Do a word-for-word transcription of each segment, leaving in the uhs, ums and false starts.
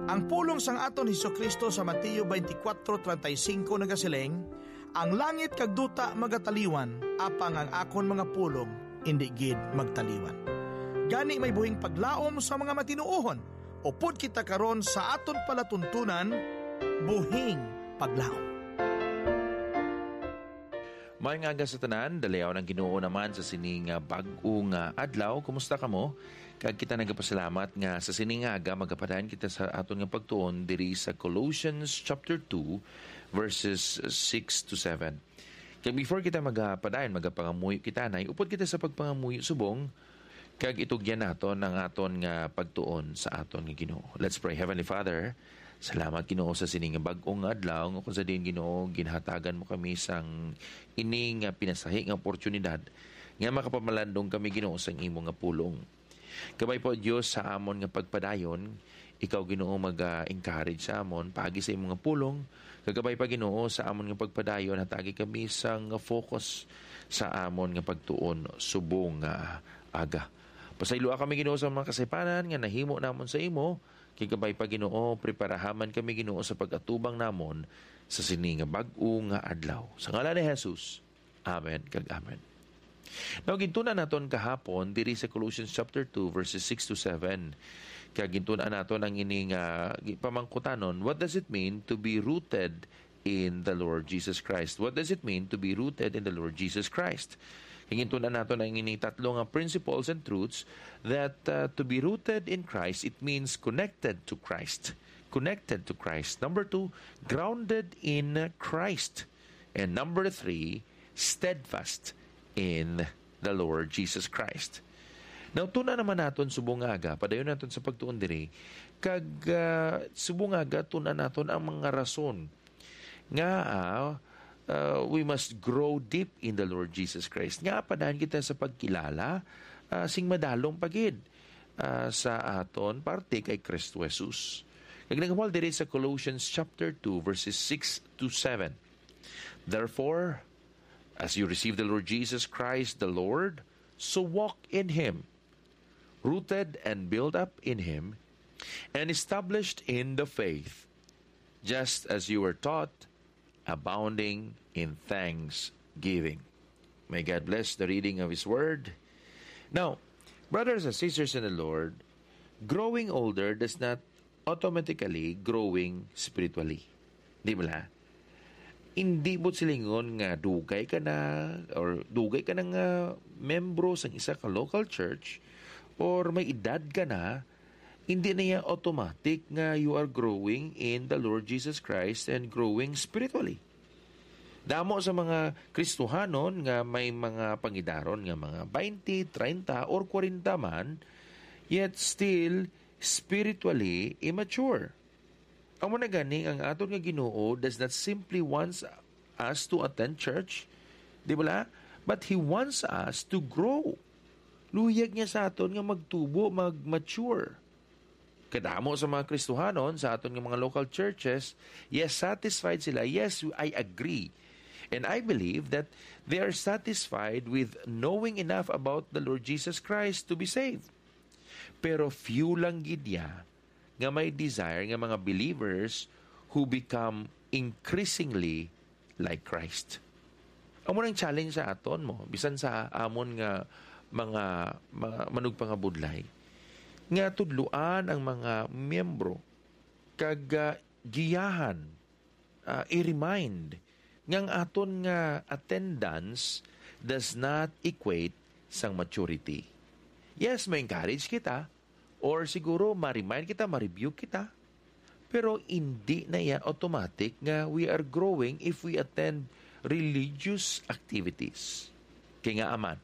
Ang pulong sang aton Jesu-Cristo sa Mateo twenty-four thirty-five nagasiling, "Ang langit kag duta magataliwan, apang ang akon mga pulong indi gid magtaliwan." Gani, may buhing paglaom sa mga matinuohon. Upod kita karon sa aton palatuntunan, buhing paglaom. Maayong aga sa tanan, dalayawon ang Ginoo naman sa sini nga bag-o nga adlaw. Kumusta kamo? Kag kita nagapasalamat nga sa sini nga aga magapadayon kita sa aton nga pagtuon diri sa Colossians chapter two, verses six to seven. Kag before kita magapadayon, magapangamuyo kita, nay, upod kita sa pagpangamuyo subong, kag itugyan naton ang aton nga pagtuon sa aton nga Ginoo. Let's pray. Heavenly Father, salamat, Ginoo, sa sini nga bag-o nga adlaw, nga kung sa diin, Ginoo, ginhatagan mo kami sang ini nga pinasahi nga oportunidad nga makapamalandong kami, Ginoo, sang imo nga pulong. Kabay pa, Dios, sa amon nga pagpadayon, ikaw, Ginoo, mag-encourage sa amon paagi sa imo nga pulong. Kag kabay pa, Ginoo, sa amon nga pagpadayon, hatagi kami sang focus sa amon nga pagtuon subong nga aga. Pasayloa kami, Ginoo, sa mga kasaypanan nga nahimo namon sa imo. Kag kabay pa, Ginoo, preparaha man kami, Ginoo, sa pag-atubang namon sa sini nga bag-o nga adlaw. Sa ngalan ni Jesus, amen kag amen. Now, gintun-an naton kahapon diri sa Colossians chapter two, verses six to seven. Kag gintun-an naton ang ini nga gi-, pamangkutanon, what does it mean to be rooted in the Lord Jesus Christ? What does it mean to be rooted in the Lord Jesus Christ? Kag gintun-an naton ang ini tatlo nga principles and truths that, uh, to be rooted in Christ, it means connected to Christ. Connected to Christ. Number two, grounded in Christ. And number three, steadfast in the Lord Jesus Christ. Now, tuna naman naton subong nga aga, padayon naton sa pagtuon diri, kag, ah, subong nga aga, tuna naton ang mga rason nga, ah, ah, we must grow deep in the Lord Jesus Christ. Nga padayon kita sa pagkilala, ah, sing madalom pa gid, ah, sa aton parte kay Kristo Jesus. Kag nagahambal diri sa Colossians chapter two, verses six to seven. Therefore, as you receive the Lord Jesus Christ the Lord, so walk in him, rooted and built up in him, and established in the faith, just as you were taught, abounding in thanksgiving. May God bless the reading of his word. Now, brothers and sisters in the Lord, growing older does not automatically growing spiritually. Di ba? Hindi mo silingon nga dugay ka na or dugay ka na nga membro sang isa ka local church or may edad ka na, hindi na iya automatic nga you are growing in the Lord Jesus Christ and growing spiritually. Damo sa mga Kristohanon nga may mga pangidaron nga mga twenty, treinta, or kwarenta man, yet still spiritually immature. Amo na gani, ang aton nga Ginoo does not simply wants us to attend church, di bala? But He wants us to grow. Luyag niya sa aton nga magtubo, mag-mature. Kadamo sa mga Kristohanon sa aton nga mga local churches, yes, satisfied sila. Yes, I agree. And I believe that they are satisfied with knowing enough about the Lord Jesus Christ to be saved. Pero few lang gid ya nga may desire nga mga believers who become increasingly like Christ. Amo nang challenge sa aton mo, bisan sa amon nga mga, mga manugpangabudlay, nga tudloan ang mga miyembro kag, ah, giyahan, ah, i-remind nga ang aton nga attendance does not equate sang maturity. Yes, ma-encourage kita, or siguro ma-remind kita, ma-rebuke kita, pero hindi na iya automatic nga we are growing if we attend religious activities. Kay nga aman,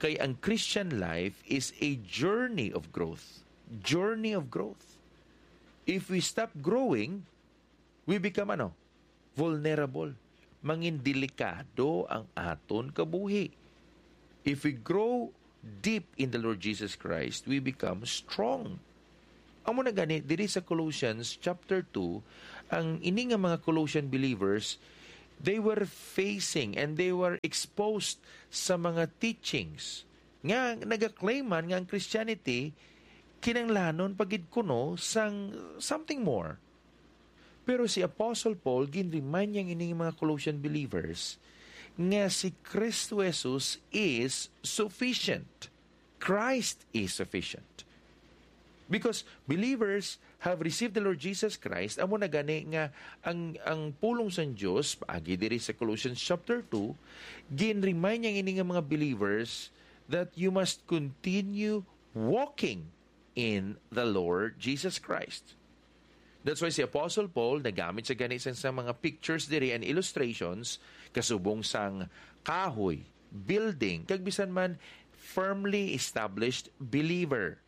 kay ang Christian life is a journey of growth. Journey of growth. If we stop growing, we become ano? Vulnerable. Mangin delikado ang aton kabuhi. If we grow deep in the Lord Jesus Christ, we become strong. Amo na gani, diri sa Colossians chapter two, ang ini nga mga Colossian believers, they were facing and they were exposed sa mga teachings nga nagaklaim man nga ang Christianity kinahanglanon pa gid kuno sang something more. Pero si Apostle Paul, ginremind niya ining mga Colossian believers nga si Kristo Jesus is sufficient. Christ is sufficient. Because believers have received the Lord Jesus Christ, amo na gani nga ang, ang pulong sang Dios, paagi diri sa Colossians chapter two, ginremind niya ini nga mga believers that you must continue walking in the Lord Jesus Christ. That's why si Apostle Paul nagamit sa gani sang, sang mga pictures diri and illustrations kasubong sang kahoy, building, kag bisan man firmly established believer.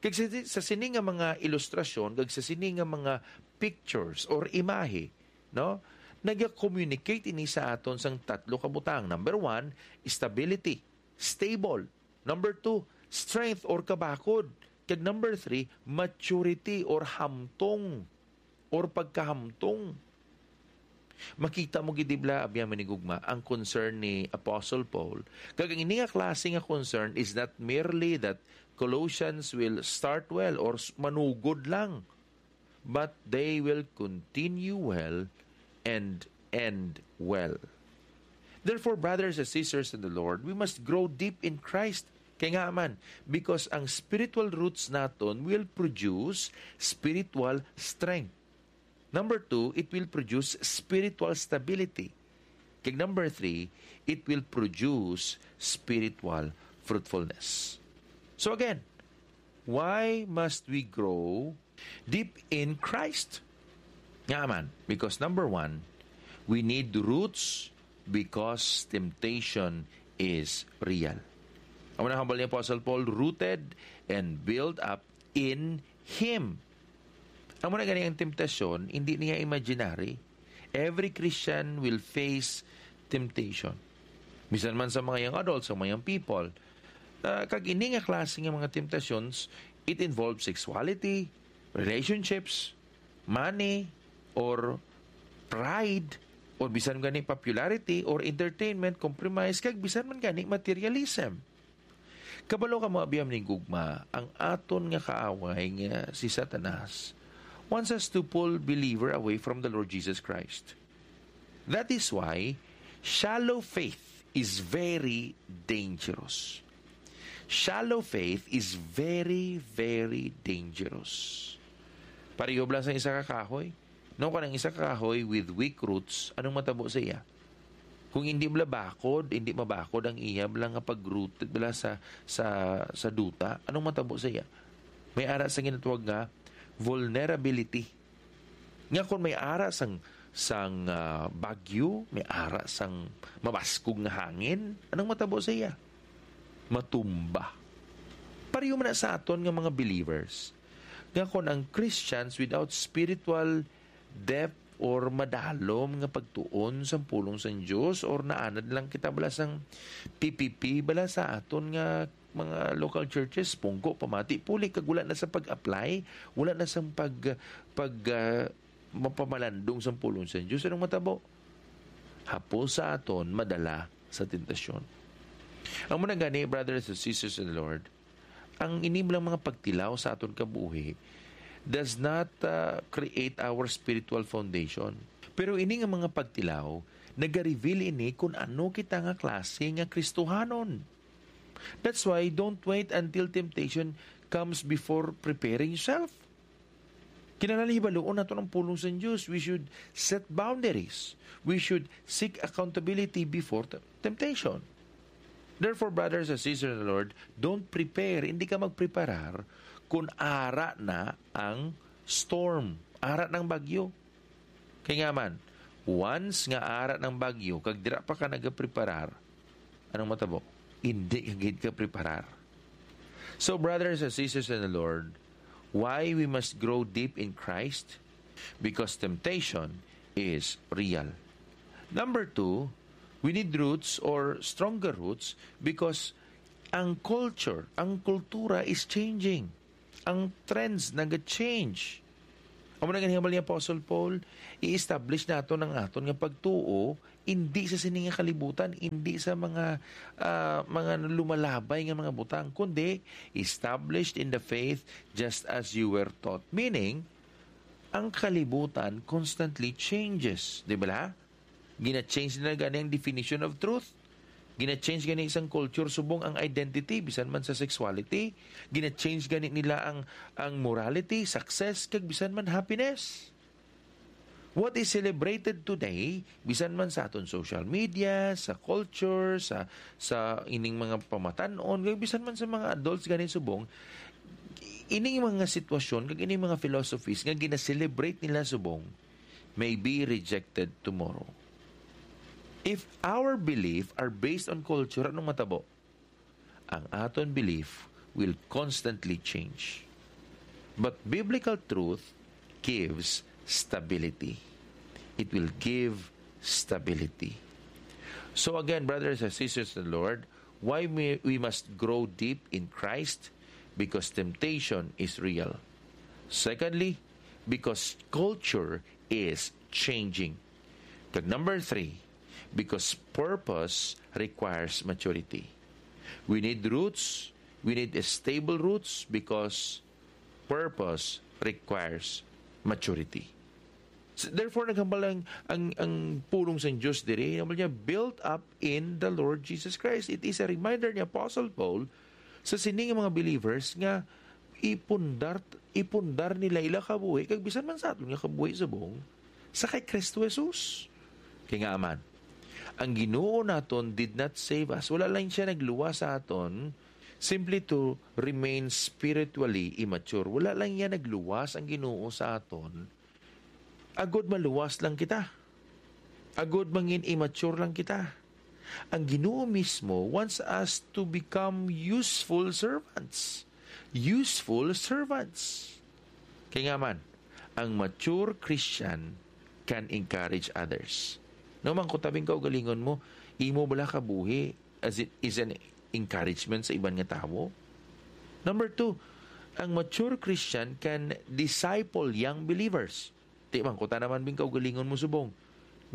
Kag sa, sa sini nga mga ilustrasyon, kag sa sini nga mga pictures or imahe, no? Naga-communicate ini sa aton sang tatlo ka butang. Number one, stability, stable. Number two, strength or kabakod. Kag number three, maturity or hamtong or pagkahamtong. Makita mo gid, di bala, abyan, manigugma, ang concern ni Apostle Paul. Kag ang ini nga klase nga concern is not merely that Colossians will start well or s-, manugod lang, but they will continue well and end well. Therefore, brothers and sisters in the Lord, we must grow deep in Christ. Kay nga man, because ang spiritual roots naton will produce spiritual strength. Number two, it will produce spiritual stability. Kag number three, it will produce spiritual fruitfulness. So again, why must we grow deep in Christ? Nga man, because number one, we need roots because temptation is real. Amo na hambal ni Apostle Paul, rooted and built up in Him. Amo na gani ang temptasyon, hindi niya imaginary. Every Christian will face temptation. Bisan man sa mga young adults, sa mga young people. Ah, kag ini nga klase nga mga temptations, it involves sexuality, relationships, money, or pride, or bisan gani popularity, or entertainment, compromise, kag bisan man gani materialism. Kabalo ka, mga abyan, manigugma, ang aton nga kaaway nga si Satanas wants us to pull believer away from the Lord Jesus Christ. That is why shallow faith is very dangerous. Shallow faith is very, very dangerous. Pareho bala sa isa ka kahoy. No, kanang isa ka kahoy with weak roots, anong matabo sa iya? Kung hindi bala bakod, hindi mabakod ang iya bala nga pag-rooted bala sa, sa, sa duta, anong matabo sa iya? May ara sa ginatawag nga vulnerability. Nga kung may ara sang, sang, ah, bagyo, may ara sang mabaskog nga hangin, anong matabo sa iya? Matumba. Pareho man na sa aton nga mga believers. Nga kung ang Christians without spiritual depth or madalom nga pagtuon sang pulong sang Dios, or naanad lang kita bala sang P P P bala sa aton nga mga local churches, pungko, pamati, puli, kag wala na sa pag-apply, wala na sang pag, pag, ah, mapamalandong sang pulong sang Dios. Anong matabo? Hapos sa aton madala sa tentasyon. Amo na gani, brothers and sisters in the Lord, ang ini lang mga pagtilaw sa aton kabuhi does not, uh, create our spiritual foundation. Pero ini nga mga pagtilaw, nagareveal ini kung ano kita nga klase nga Kristohanon. That's why don't wait until temptation comes before preparing yourself. Kinahanglan hibaluon naton ang pulong sa Dios. We should set boundaries. We should seek accountability before t-, temptation. Therefore, brothers and sisters in the Lord, don't prepare. Hindi ka magpreparar kung ara na ang storm, ara na ang bagyo. Kay nga man, once nga ara na ang bagyo, kag dira pa ka nagapreparar, anong matabo? Hindi ka gid ka preparar. So, brothers and sisters in the Lord, why we must grow deep in Christ? Because temptation is real. Number two, we need roots or stronger roots because ang culture, ang kultura is changing. Ang trends naga-change. Amo na nga hinambal ni Apostle Paul, i-establish naton ang aton nga pagtuo, indi sa sini nga kalibutan, indi sa mga, ah, mga lumalabay nga mga butang, kundi established in the faith just as you were taught. Meaning, ang kalibutan constantly changes, di ba? Gina-change nila gani ang definition of truth. Gina-change gani sang culture subong ang identity, bisan man sa sexuality. Gina-change gani nila ang, ang morality, success, kag bisan man happiness. What is celebrated today, bisan man sa aton social media, sa culture, sa, sa ining mga pamatan-on, kag bisan man sa mga adults gani subong, ining mga sitwasyon, kag ining mga philosophies nga gina-celebrate nila subong, may be rejected tomorrow. If our belief are based on culture, anong matabo? Ang aton belief will constantly change. But biblical truth gives stability. It will give stability. So again, brothers and sisters in the Lord, why we, we must grow deep in Christ? Because temptation is real. Secondly, because culture is changing. Kag number three, because purpose requires maturity. We need roots, we need stable roots because purpose requires maturity. So, therefore, naghambal ang, ang, ang pulong sang Dios diri, ang niya, "Built up in the Lord Jesus Christ." It is a reminder ni Apostle Paul sa sini nga mga believers nga ipundar, ipundar nila ila kabuhi, kag bisan man sa aton nga kabuhi subong, sa kay Kristo Jesus. Kay nga man, ang Ginoo naton did not save us. Wala lang siya nagluwas sa aton simply to remain spiritually immature. Wala lang niya nagluwas ang Ginoo sa aton agod maluwas lang kita. Agod mangin immature lang kita. Ang Ginoo mismo wants us to become useful servants. Useful servants. Kay nga man, ang mature Christian can encourage others. No man, kung tabing kaugalingon mo, imo bala kabuhi as it is an encouragement sa iban nga tawo? Number two, ang mature Christian can disciple young believers. Di man, kuta naman bing kaugalingon mo subong,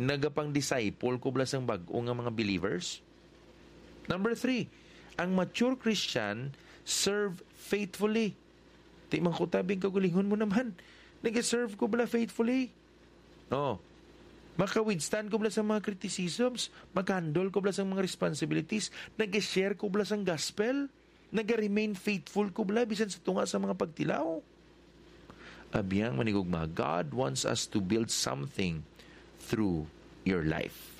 nagapang-disciple ko bala sang bag-o nga mga believers? Number three, ang mature Christian serve faithfully. Di man, kuta bing kaugalingon mo naman, nag-serve ko bala faithfully? Oh. Maka-withstand ko bala sa mga criticisms? Maka-handle ko bala sa mga responsibilities? Nag-share ko bala sang gospel? Naga-remain faithful ko bala bisan sa tunga sa mga pagtilaw? Abiyang manigugma, God wants us to build something through your life.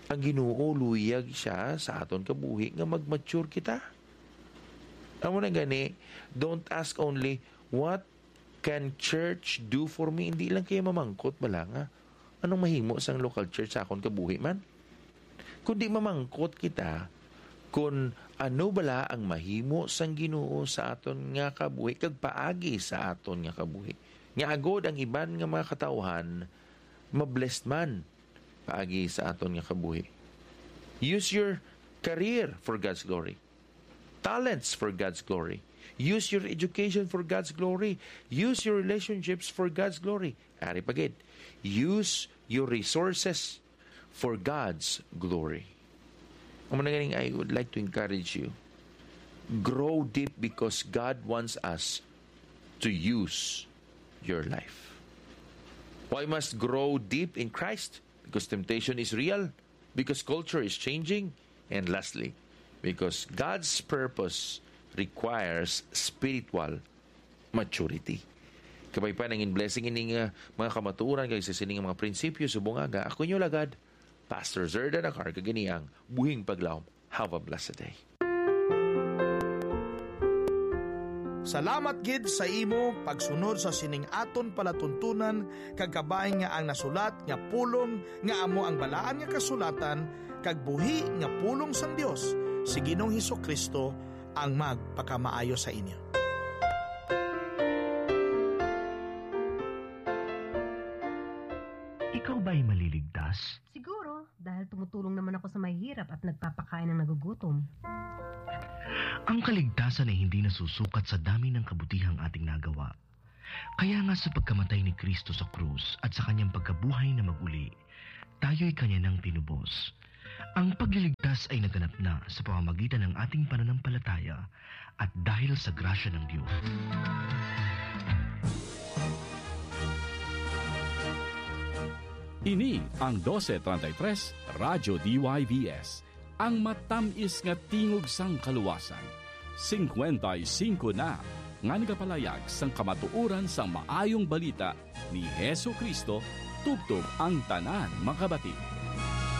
Ang Ginoo luyag siya sa aton kabuhi nga mag-mature kita. Amo na gani, don't ask only, "What can church do for me?" Hindi lang kayo mamangkot bala nga, "Anong mahimo sang local church sa akon kabuhi man?" Kundi mamangkot kita kun ano bala ang mahimo sang Ginoo sa aton nga kabuhi kag paagi sa aton nga kabuhi, nga agod ang iban nga mga katawuhan ma-blessed man paagi sa aton nga kabuhi. Use your career for God's glory. Talents for God's glory. Use your education for God's glory. Use your relationships for God's glory. Ari pa gid, use your resources for God's glory. Amo na ganing, I would like to encourage you. Grow deep because God wants us to use your life. Why must grow deep in Christ? Because temptation is real, because culture is changing, and lastly, because God's purpose requires spiritual maturity. Kabay pa nangin blessing ining, ah, mga kamatuoran kag sa sining mga prinsipyo subong aga. Ako inyo lagad, Pastor Zerdan Acar, kag ini ang Buhing Paglaom. Have a blessed day. Salamat gid sa imo pagsunod sa sining aton palatuntunan, kag kabay nga ang nasulat nga pulong nga amo ang Balaan nga Kasulatan kag buhi nga pulong sang Dios si Ginoong Hesus-Kristo ang magpakamaayo sa inyo. Ikaw ba'y maliligtas? Siguro, dahil tumutulong naman ako sa mahihirap at nagpapakain ng nagugutom. Ang kaligtasan ay hindi nasusukat sa dami ng kabutihang ating nagawa. Kaya nga sa pagkamatay ni Kristo sa krus at sa kanyang pagkabuhay na maguli, tayo'y kanya nang tinubos. Ang pagliligtas ay naganap na sa pamamagitan ng ating pananampalataya at dahil sa grasya ng Diyos. Ini ang dose treinta y tres Radyo D Y V S, ang matamis nga tingog sang kaluwasan. Singkwenta y singko na nga nagapalayag sang kamatuoran sang maayong balita ni Jesu-Cristo tubtob ang tanan makabati.